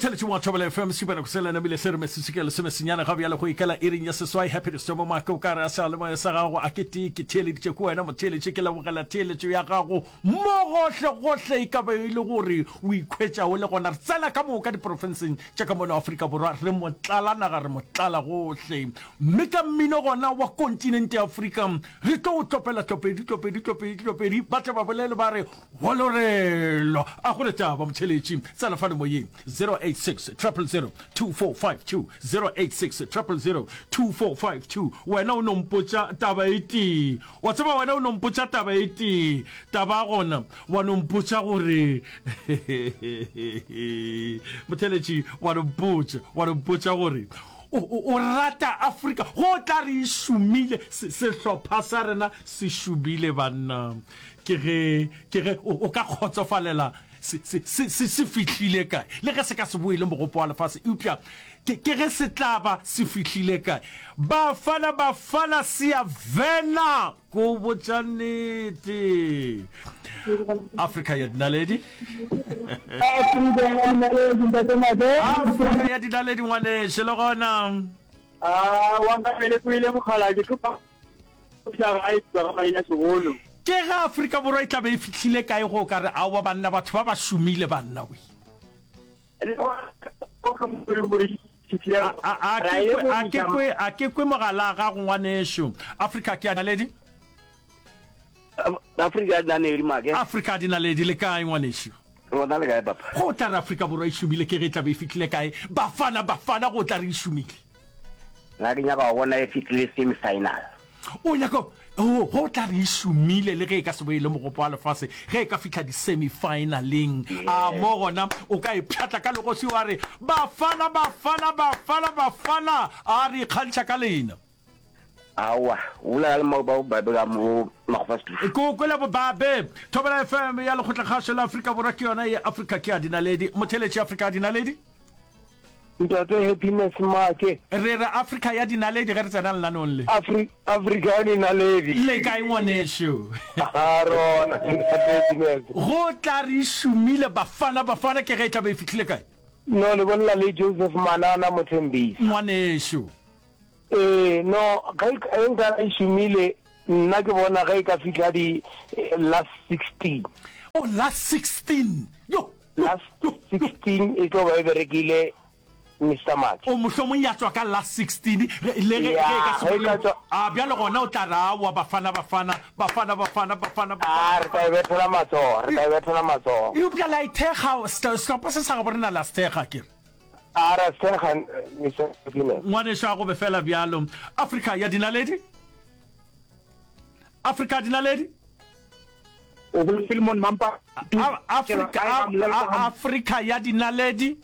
Motheletši wa Thobela FM Šupana Kusela namile se re mesese ke lesomesenyane ga bjale go ikela iring ya seswai Happy Distomo Make o ka re a sa le moya sa gago a ke tee ke theeleditše ke wena motheeletši ke lebogela theeletšo ya gago mo gohle gohle e ka be e le gore o ikhwetša o le gona re tsena ka moka diprofenseng tša ka mono Afrika Borwa re motlala naga re motlala gohle mme ka mmino gona wa kontinente ya Afrika re tlo o tlopela tlopedi tlopedi tlopedi tlopedi ba tle ba bolele ba re Walorelo a go le taba motheletši tsena fano moyeng 086 000 2452 086 000 2452 wena o no mpotša taba e tee wa tseba wena o no mpotša taba e tee taba gona wa no mpotša gore motheletši wa no mpotša wa no mpotša gore o, o, o rata Afrika go tla re e šomile sehlopha sa rena se šomile banna Ke ge, ke ge o, o ka kgotsofalela se, se, se, se, se fihlile kae. Le ge se ka se boele mogopo wa lefase, eupša ke, ke ge se tla ba se fihlile kae. Bafana, Bafana, Siyavela! Ke o botša nnete. Afrika ya dinaledi. Afrika ya dinaledi, Ntate Mate. Afrika ya dinaledi, ngwanešu, le gona. Ah, wa nka pele kwele mokgalabje, ke Ke ge Afrika Borwa e tla be e fihlile kae go ka re aowa banna batho ba ba šomile banna we. A ke kwe a ke kwe mogala ga go ngwanešu. Afrika ke a naledi. Afrika ya dinaledi make. Afrika ya dinaledi le kae ngwanešu? Rona le kae papa? Go tla re Afrika Borwa e šomile ke ge e tla be e fihlile kae? Bafana Bafana go tla re e šomile. Nna ke nyaka go bona e fihlile semi final. O nyaka oh, go tla re e šomile le ge e ka se bo e le mogopo wa lefase ge e ka fihla di semi finaleng. A mo gona o ka e pšhatla ka legoši wa re Bafana Bafana Bafana Bafana a re ikgantšha ka lena. Aowa, o bolela le mo ba babe ka mo Makgopa Studio. Ke o kwele bobabe. Thobela FM ya Lekgotlakgašo la Afrika Borwa ke yona ye Afrika ke ya dinaledi. Motheeletši Afrika ya dinaledi. Ntate Happiness Make. Re re Afrika ya dinaledi ge re tsena lenaneong le. Afri, Afrika ya dinaledi. Le kae ngwanešu? A rona, Ntate Happiness. Go tla re šomile Bafana Bafana ke ge e tla be e fihlile kae? No, le bolela le Joseph Manana Mothembisa. Ngwanešu. Ee, no, ge e nka e šomile, nna ke bona ge e ka fihla di last 16. Oh, last 16. Yo, yo, Last yo, yo. 16 e tlo ba e berekile Mister Mathe. O mohlomong ya tšwa ka last 16, ge, le ge, ge e ka Ya, se ge e ka bolele. tšwa. A bjale gona o tla re, Aowa, Bafana, Bafana, Bafana, Bafana, Bafana, Bafana, A, re tla e Bafana. bethela matsogo, re tla e bethela matsogo. Eupša la e thekga, sehlopha se sa gabo rena la se thekga, ke re. A ra sega, Mister Happiness. Ngwanešu a go be fela bjalo. Afrika ya dinaledi. Afrika ya dinaledi. O bole Philemon Mampa. Afrika, Afrika ya dinaledi.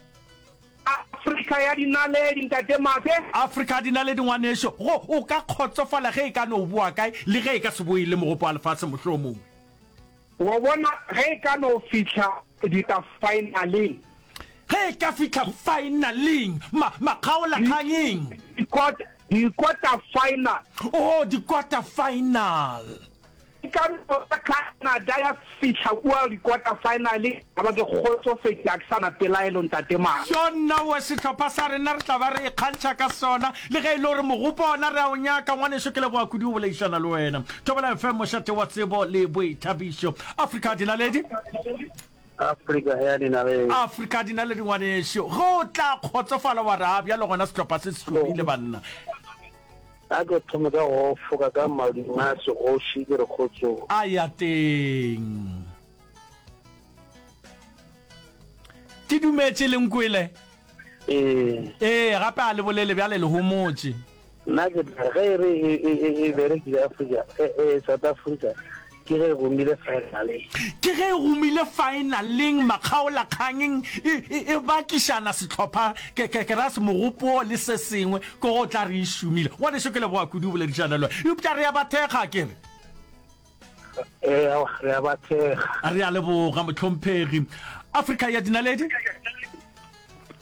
Afrika ya dinaledi, Ntate Make. Afrika ya dinaledi, ngwanešu. Go, o ka kgotsofala ge e ka no boa kae, le ge e ka se boe le mogopo wa lefase mohlomongwe. Wa bona, ge e ka no fihla ditafaenaleng. Ge e ka fihla faenaleng, ma, makgaolakgangeng. Di, di-quarter final. Oo, di-quarter final. E ka no ba Canada ya fihla kua di-quarter final, ka ba ke kgotsofetše, ga ke sa na pelaelo, Ntate Mara. Tjo nna we, sehlopha sa rena re tla ba re ikgantšha ka sona, le ge e le gore mogopo ona re a o nyaka. Ngwanešu, ke leboga kudu go boledišana le wena. Thobela FM, mošate wa tsebo le boithabišo. Afrika Dinaledi. Afrika ya Dinaledi. Afrika Dinaledi, ngwanešu. Ge o tla kgotsofala wa re, a bjalo gona sehlopha se se hlomile, banna. A ke thome ka go foka ka madume a segoši ke re kgotsong. A ya teng. Ke dumetše le nkwele. Ee. Ee, gape a le bolele bjale le homotše. Nna ke tla re ge e re e, e, e, e berekile Afrika, e, e, South Africa, ke ge e gomile finaleng. Ke ge e gomile finaleng, makgaolakgangeng, e, e, e bakišana sehlopha, ke, ke, ke ra se mogopo le se sengwe, ke go tla re e šomile. Ngwaneso ke leboga kudu go boledišana le wena. Eupša re a ba thekga, ke re. Ee, aowa, re a ba thekga. Re a leboga, mohlomphegi. Afrika ya dinaledi?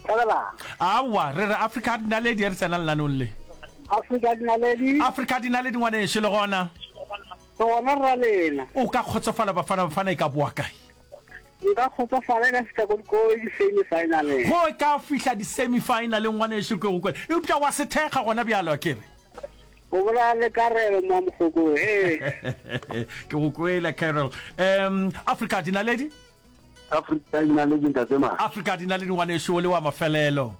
Thabela. Aowa, re re Afrika ya dinaledi, re tsena lenaneong le. Afrika ya dinaledi. Afrika ya dinaledi, ngwaneso, le gona? Gona, rra lena. O ka kgotsofala Bafana Bafana e ka boa kae? Nka kgotsofala e ka fihla ko ko di-semi-finaleng. Go e ka fihla di-semi-finaleng ngwanešu ke go kwele. Eupša wa se thekga gona bjalo a ke re? O bolela le Karelo mo Mokgokong, ee. Ke go kwele Carol. Um, Afrika dinaledi? Afrika dinaledi ntate ma. Afrika dinaledi ngwanešu o le wa mafelelo.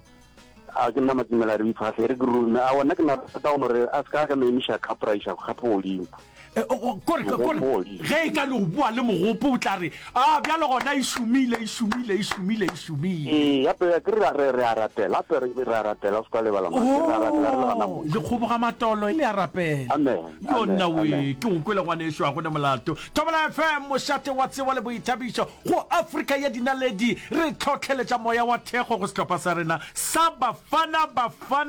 A ke nna Matsimela re iphahle e re ke rome. Aowa nna ke na rata gore a se ka ka no emiša cup ra iša cup godimo. Eh, kore kore ge e ka no boa le mogopo o tla re a bjalo gona e šomile e šomile e šomile e šomile. Ee gape a ke re re re a rapela gape re re a rapela o se ka lebala mma re a rapela re le gana mo. Le kgoboga matolo le a rapela. Amen Yo amen nna we amen. ke go kwele ngwanešu ga go na molato. Thobela FM mošate wa tsebo le boithabišo go Afrika ya dinaledi re tlhohleletša moya wa thekgo go sehlopha sa rena sa Bafana Bafana.